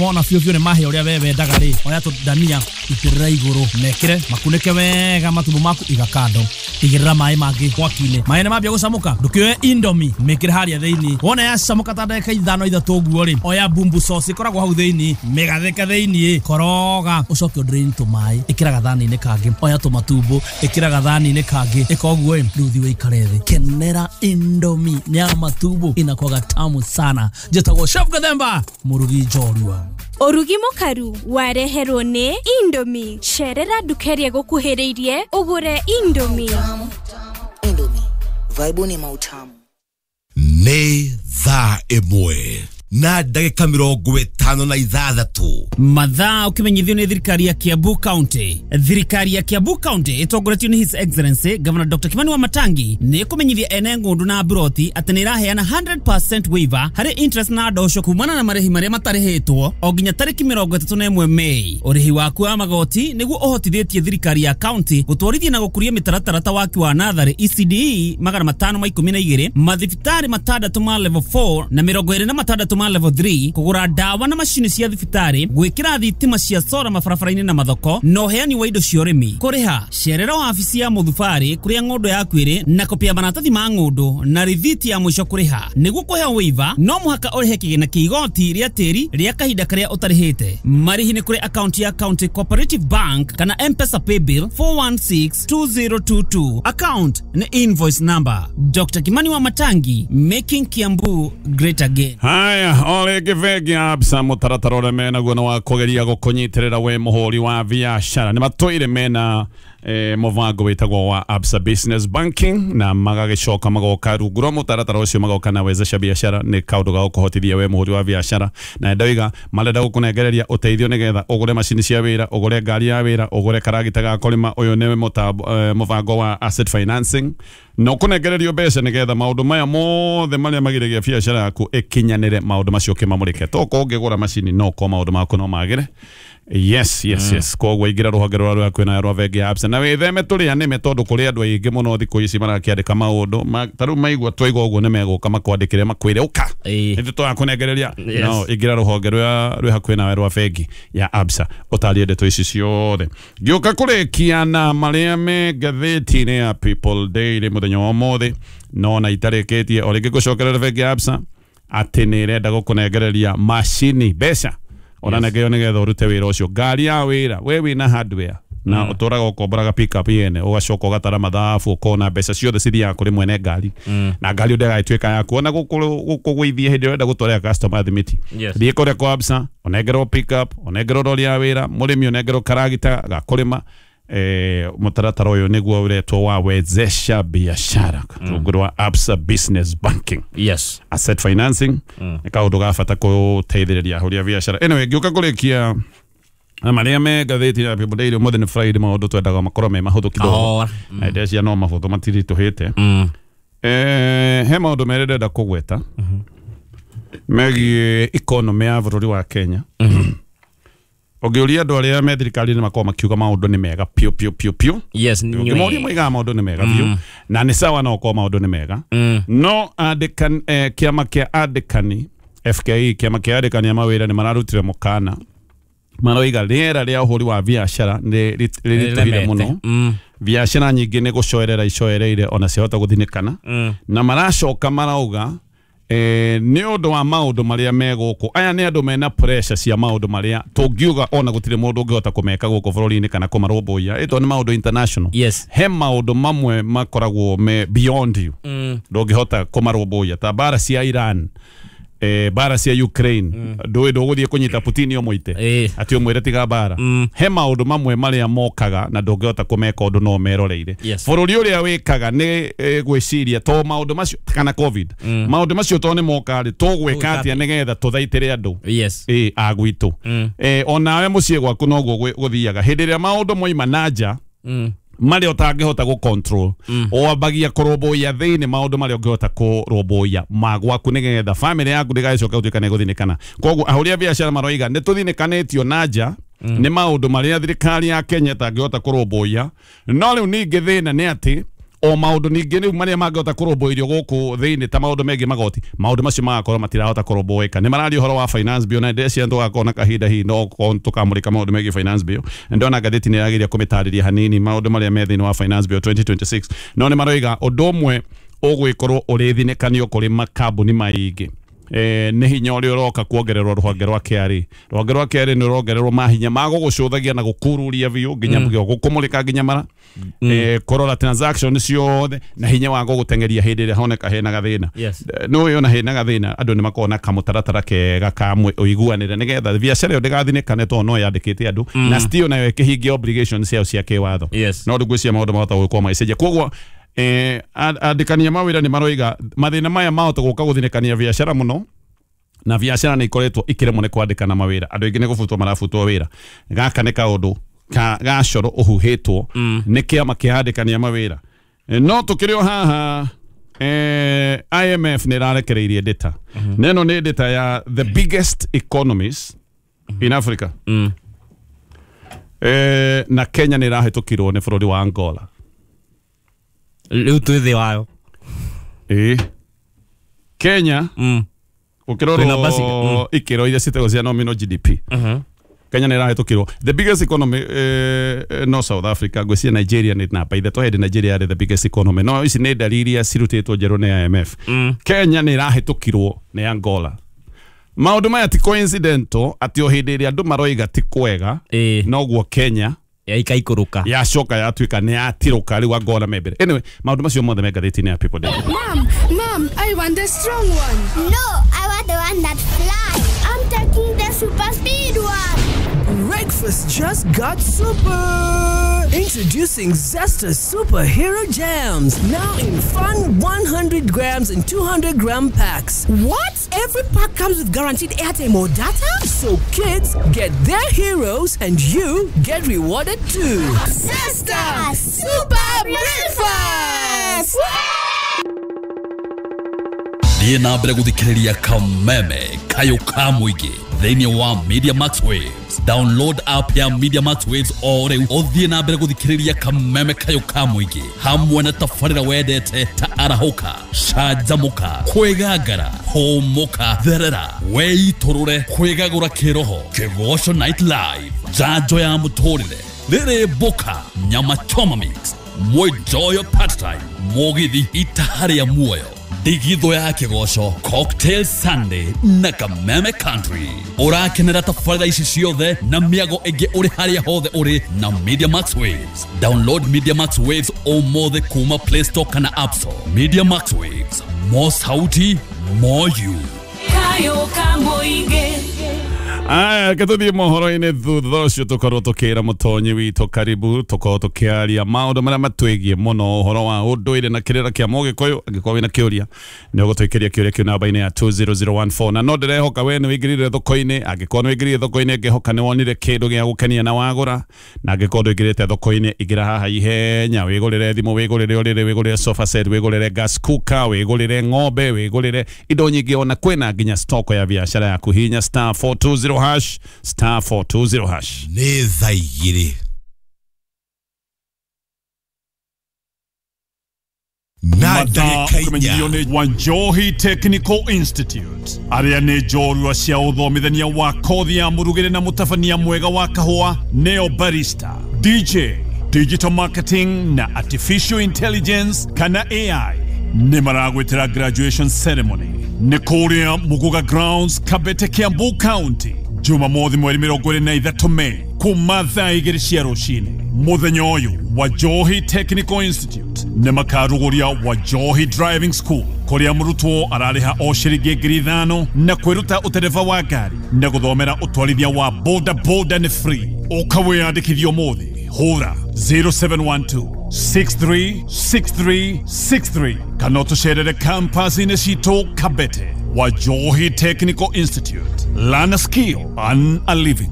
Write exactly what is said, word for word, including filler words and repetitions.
Wona biũ biũ nĩ mahĩa ũrĩa we wendaga rĩ, oya tũndania itĩrĩra igũrũ, mekĩre makunĩke wega matumbo maku, iga kando, igĩrĩra maĩ mangĩ mwaki-inĩ. Maĩ nĩ mambia gũcamũka, ndũkĩoe Indomie mĩkĩre harĩa thĩinĩ. Wona yacamũka ta ndagĩka ithano ithatũ ũguo rĩ, oya bumbu sauce ĩkoragwo hau thĩinĩ, mĩgathĩke thĩinĩ, koroga, ũcoke ũdrain tũmaĩ, ĩkĩra gathani-inĩ kangĩ, oya tũmatumbo ĩkĩra gathani-inĩ kangĩ, ĩka ũguo ĩ, rĩu thiĩ ũikare thĩ, kenera Indomie ya matumbo, inakuwaga tamu sana. Njĩtagwo Chef Gathemba, mũrugi njorua. Ũrugi mũkaru wareherwo nĩ Indomie. Cerera nduka ĩrĩa ĩgũkuhĩrĩirie ũgũre Indomie. Indomie, vaibu ni mautamu. Nĩ thaa ĩmwe na ndagĩka mĩrongo ĩtano na ithathatũ. Mathaa ũkĩmenyithio nĩ thirikari ya Kiambu County. Thirikari ya Kiambu County ĩtongoretio nĩ His Excellency Governor Doctor Kimani Wamatangi nĩ ĩkũmenyithia ene ng'ũndũ na mburoti atĩ nĩ ĩraheana hundred percent waiver harĩ interest na ndosho kumana na marĩhi marĩa matarĩhĩtwo o nginya tarĩki mĩrongo ĩtatũ na ĩmwe Mei. Ũrĩhi waku wa magoti nĩguo ũhotithĩtie thirikari ya county gũtwarithia na gũkũria mĩtaratara ta waki wa natharĩ E C D E magana matano ma ikũmi na igĩrĩ, mathibitarĩ matandatũ ma level four na mĩrongo ĩrĩ na matandatũ ma level three, kũgũra ndawa na macini cia thibitarĩ, gwĩkĩra thitima cia sora mabarabara-inĩ na mathoko, na ũheani wa indo cia ũrĩmi. Kũrĩha cerera wabici ya mũthubarĩ kũrĩa ng'ũndũ yaku ĩrĩ na kopi ya maratathi ma ng'ũndũ na rithiti ya mũico kũrĩha. Nĩguo kũheo waiver no mũhaka ũrĩhe kĩgĩna kĩa igoti rĩa tĩri rĩa kahinda karĩa ũtarĩhĩte. Marĩhi nĩ kũrĩ akaunti ya County Cooperative Bank kana M-Pesa Paybill four one six two zero two two. Account nĩ invoice number. Doctor Kimani Wamatangi, making Kiambu great again. Haya, o rĩngĩ bengi ya Absa mũtaratara ũrĩa menaguo nĩ wa kũgeria gũkũnyitĩrĩra we mũhũri wa biacara. Nĩ matũire mena eh, mũbango wĩtagwo wa Absa Business Banking na magagĩcoka magoka rungu rwa mũtaratara ũcio magoka na wezesha biacara, nĩ kaũndũ ga gũkũhotithia we mũhũri wa biacara. Na ndoiga marenda gũkũnengereria ũteithio nĩgetha ũgũre macini cia wĩra, ũgũre ngari ya wĩra, ũgũre karagita ga kũrĩma. Ũyũ nĩ mũtambo, eh, mũbango wa asset financing na ũkũnengererio mbeca nĩgetha maũndũ maya mothe marĩa magiragia biacara yaku ĩkinyanĩre, maũndũ macio ũkĩmamũrĩke. To korwo ũngĩgũra macini no korwo maũndũ maku no magĩre. Yes, yes, mm. yes. Koguo ingĩra rũhonge rũrĩa rwĩ hakuhĩ nawe rwa bengi ya Absa na wĩtheme tũrĩa nĩme, tondũ kũrĩ andũ aingĩ mũno thikũ ici marakĩandĩka maũndũ ma, ta rĩu maigua twaigua ũguo nĩ megũka makwandĩkĩre makwĩre ũka nĩtũ tũrakũnengereria. No ingĩra rũhonge rũrĩa rwĩ hakuhĩ nawe rwa bengi ya Absa ũtarie ndeto ici ciothe. Ngĩũka kũrĩkia na marĩa me ngathĩti-inĩ ya People Daily mũthenya wa ũmũthĩ, no na itarĩkĩtie o rĩngĩ gũcokerera bengi ya Absa atĩ nĩ ĩrenda gũkũnengereria macini mbeca ona nengeo nĩgetha ũrute wĩra ũcio, ngari ya wĩra, we wĩna hardware na mm. ũtũraga ũkomboraga pick up yene ũgacoka ũgatara mathabu ũkona mbeca ciothe cithiaga kũrĩ mwene ngari mm. na ngari ndĩgagĩtuĩka yaku ona gũkũgũithia hĩndĩ ĩrĩa ũrenda gũtwarĩra customer thimiti. Yes. Thiĩ kũrĩa kwa Absa ũnengerwo pick up, ũnengerwo rori ya wĩra, mũrĩmi ũnengerwo karagita ga kũrĩma. Eh, mũtaratara ũyũ nĩguo ũretwo wa wezesha biashara rungu rwa Absa Business Banking. Yes. Asset financing nĩ kaũndũ ga bata gũteithĩrĩria ahũri a biacara. Anyway, ngĩũka kũrĩkia na marĩa me ngathĩti ya People Daily ũmũthĩ nĩ Friday, maũndũ twendaga makorwo me mahũthũ kidogo. Na ndecia no mahũthũ matiritũhĩte. Eh, he maũndũ merĩ ndĩrenda kũgweta megiĩ economy ya bũrũri wa Kenya. Ũngĩũria andũ arĩa me thirikari-inĩ makoragwo makiuga maũndũ nĩ mega piũ piũ piũ piũ. Yes, ũngĩmoria moigaga maũndũ nĩ mega biũ, na nĩ sawa no ũkorwo maũndũ nĩ mega. No andĩkani, eh, kĩama kĩa andĩkani F K E, kĩama kĩa andĩkani a mawĩra nĩ mararutire mũkana, maroiga rĩera rĩa ũhũri wa biacara nĩ rĩritũhire mũno. Biacara nyingĩ nĩ gũcoerera icoereire ona ciahota gũthinĩkana, na maracoka marauga eh, nĩ ũndũ wa maũndũ marĩa me gũkũ. Aya nĩ andũ mena pressure cia maũndũ marĩa tũngiuga ona gũtirĩ mũndũ ũngĩhota kũmeka gũkũ bũrũri-inĩ kana kũmarũmbũiya, ĩtondũ nĩ maũndũ international. Yes. He maũndũ mamwe makoragwo me beyond you, ndũngĩhota kũmarũmbũiya, ta mbara cia Iran, eh, bara cia Ukraine, ndũĩ ndũgũthiĩ kũnyita Putin ũmũite atĩ ũmwĩre tiga bara. He maũndũ mamwe marĩa mokaga na ndũngĩhota kũmeka ũndũ no meroreire. Bũrũri ũrĩa wĩkaga nĩ eh, gwĩciria to maũndũ macio kana COVID, maũndũ macio to nĩ moka rĩ, tũgwĩka atĩa nĩgetha tũthaitĩre andũ Yes. ĩ a gwitũ. Eh, onawe mũciĩ gwaku noguo gũthiaga hĩndĩ ĩrĩa maũndũ moima na nja marĩa ũtangĩhota gũ control, wambagia kũrũmbũiya thĩinĩ maũndũ marĩa ũngĩhota kũrũmbũiya ma gwaku nĩgetha family yaku ndĩgagĩcoke gũtuĩka nĩ ĩgũthinĩkana. Koguo ahũri a biacara maroiga nĩ tũthinĩkanĩtio na nja nĩ maũndũ marĩa thirikari ya Kenya ĩtangĩhota kũrũmbũiya. No rĩu ningĩ thĩna nĩ atĩ O maũndũ ningĩ rĩu marĩa mangĩhota kũrũmbũirio gũkũ thĩinĩ ta maũndũ megiĩ magoti, maũndũ macio magakorwo matirahota kũrũmbũĩka. Nĩ mararia ũhoro wa finance bill na ndĩreciria tũgakorwo na kahinda hihi no tũkamũrĩka maũndũ megiĩ finance bill. Ndona ngathĩti nĩ ĩrageria kũmĩtarĩria hanini maũndũ marĩa me thĩinĩ wa finance bill twenty twenty-six. No nĩ maroiga ũndũ ũmwe ũgwĩkorwo ũrĩ thinĩkanio kũrĩ makambuni maingĩ eh, nĩ hinya ũrĩa ũroka kuongererwo rũhonge rwa K R A. Rũhonge rwa K R A nĩ rũrongererwo mahinya ma gũgũcũthagia na gũkururia biũ nginya mm. gũkũmũrĩka nginya mara mm. eh, kũrora transaction ciothe na hinya wa gũgũteng'eria hĩndĩ ĩrĩa honeka hena gathĩna. Yes. No ũyũ ona hena gathĩna andũ nĩ makoragwo na kamũtaratara kega ka ũiguanĩre nĩgetha biacara ĩyo ndĩgathinĩkane tondũ no yandĩkĩte andũ mm. na still nayo ĩkĩhingia obligations ciao cia kĩwatho. Yes. No ndũgwĩciria maũndũ mahota gũkorwo magĩcenjia. Koguo eh andĩkania mawĩra nĩ maroiga mathĩna maya mahota gũka gũthinĩkania biacara mũno na biacara nĩ ikoretwo ikĩremwo nĩ kwandĩkana mawĩra. Andũ aingĩ nĩ gũbutwo marabutwo wĩra. Gaka nĩ kaũndũ ka gacoro ũhuhĩtwo mm. nĩ kĩama kĩa andĩkania mawĩra. No tũkĩrĩ o haha eh, I M F nĩ ĩrarekereirie data. Mm -hmm. Neno nĩ data ya the biggest economies mm -hmm. in Africa. Mm. Eh, na Kenya nĩ ĩrahĩtũkirwo nĩ bũrũri wa Angola. Rĩu twĩ thĩ wayo. Ĩĩ. Kenya mm. ũkĩrorwo ikĩro iria citagwo cia nominal G D P. Mhm. Kenya nĩ ĩrahĩtũkirwo. The biggest economy eh, no South Africa, ngwĩciria Nigeria nĩ namba ithatũ hĩndĩ Nigeria yarĩ the biggest economy. No ici nĩ ndariri iria cirutĩtwo njerũ nĩ I M F. Mm. Kenya nĩ ĩrahĩtũkirwo nĩ Angola. Maũndũ maya ti coincidental atĩ o hĩndĩ ĩrĩa andũ maroiga ti kwega noguo Kenya yaikaikũrũka yacoka yatuĩka nĩ yatirũka rĩu Angola me mbere. Anyway, maũndũ macio mothe me ngathĩti-inĩ ya People Daily. Mom, mom, I want the strong one. No, I want the one that flies. I'm taking the super speed one. Breakfast just got super. Introducing Zesta Superhero Jams, now in fun one hundred grams and two hundred gram packs. What? Every pack comes with guaranteed airtime or data? So kids get their heroes and you get rewarded too. Zesta Super Breakfast! Thiĩ na mbere gũthikĩrĩria Kameme Kayũ ka mũingĩ thĩinĩ wa Media Max Waves. Download app ya Media Max Waves o rĩu ũthiĩ na mbere gũthikĩrĩria Kameme Kayũ ka mũingĩ hamwe na tabarĩra wendete ta arahũka, canjamũka, kwĩgangara, hũmũka, therera, weitũrũre, kwĩgagũra kĩroho, Kĩgoco Night Live, njanjo ya mũtũrĩre, rĩrĩ mboka, nyama choma mix, mwenjoyo part time, mũgithi itaharĩa muoyo, Ndigitho ya Kĩgoco, Cocktail Sunday na Kameme Country. Ũrakenera tabarĩra ici ciothe na mĩago ĩngĩ ũrĩ harĩa hothe ũrĩ na Media Max Waves. Download Media Max Waves ũmũthĩ kuma Play Store kana App Store. Media Max Waves, more sauti, more you. Kayo ka mũingĩ. Aya, reke tũthiĩ mohoro-inĩ thutha ũcio tũkorwo tũkĩra mũtonyi witũ karibu tũkorwo tũkĩaria maũndũ marĩa matwĩgiĩ mũno ũhoro wa ũndũire na kĩrĩra kĩa Mũgĩkũyũ. Angĩkorwo wĩna kĩũria nĩ ũgũtũikĩria kĩũria kĩu namba-inĩ ya two zero zero one four. Na no ndĩrehoka we nĩ wĩingĩrire thoko-inĩ. Angĩkorwo nĩ wĩingĩrire thoko-inĩ ngĩhoka nĩ wonire kĩndũ gĩa gũkenia na wagũra, na angĩkorwo ndũingĩrĩte thoko-inĩ ingĩra haha ihenya wĩgũrĩre thimũ, wĩgũrĩre ũrĩrĩ, wĩgũrĩre sofa set, wĩgũrĩre gas cooker, wĩgũrĩre ng'ombe, wĩgũrĩre indo nyingĩ, ona kwĩna nginya stock ya biacara yaku. Hinya star four two zero hash, star four two zero hash. Nĩ thaa igĩrĩ na ndagĩka ũkĩmenyithio nĩ Wanjohi Technical Institute arĩa nĩ njorua cia ũthomithania wa kothi ya mũrugĩre na mũtabania mwega wa kahũa, neo barista, D J, digital marketing na artificial intelligence kana A I. Nĩ maragwĩtĩra graduation ceremony nĩ kũrĩa Muguga Grounds, Kabete, Kiambu County, Jumamothi mweri mĩrongo ĩrĩ na ithatũ Mei kuma thaa igĩrĩ cia rũcinĩ. Mũthenya ũyũ Wanjohi Technical Institute nĩ makarugũria Wanjohi Driving School kũrĩa mũrutwo ararĩha o ciringi ngiri ithano na kwĩruta ũtereba wa ngari na gũthomera ũtwarithia wa boda boda nĩ free. Ũka wĩyandĩkithie ũmũthĩ, hũra zero seven one two six three six three six three kana ũtũcerere campus-inĩ citũ Kabete. Wanjohi Technical Institute. Learn a skill, earn a living.